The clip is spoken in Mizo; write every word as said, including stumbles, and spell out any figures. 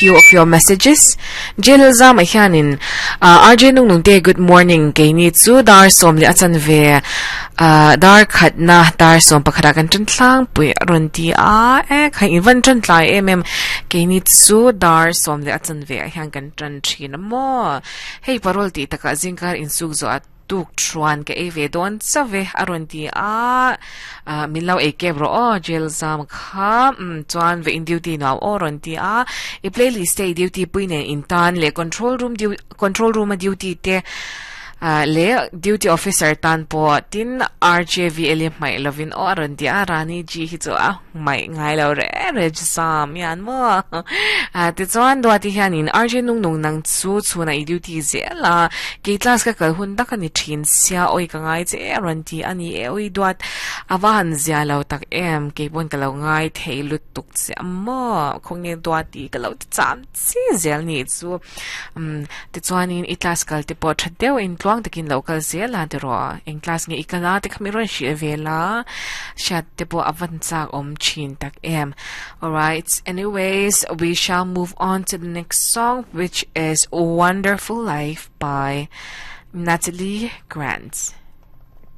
Few of your messages. Jail zam a hianin uh, R J nung nung te, good morning. Keini chu dar som le achan ve uh, dar khat na dar som pakhara kan tran thlang pui ron ti a e khai in van tran tlai em em. Keini chu dar som le achan ve a hian kan tran thin mo. Hei parol ti taka zingkar in suk zo at tuk chuan ka e ve don chave aron ti a min lo e ke bro o jail zam kha um chuan ve in duty naw o ron ti a. I playlist te duty puine in tan le control room du control room a duty te le duty officer tan po tin R J V eli mai lovin o aron ti a. Rani ji hi chu a mai ngai lo re re sam yan mo a. Ti chuan do ti hian in R J nung nung nang chu chuna i duty zela ke class ka kal hun tak ani thin sia oi ka ngai che ron ti ani e. Oi duat awan zia lo tak em ke bon ka lo ngai thei lut tuk che mo khong ne duat ti ka lo cham chi zel ni chu. um ti chuan in i class kal te po thadeu in tluang takin lo kal zel a te ro eng class nge ikala te khami ron shi vela shat te po avan chak om chin tak em. Alright, anyways, we shall move on to the next song, which is Wonderful Life by Natalie Grant.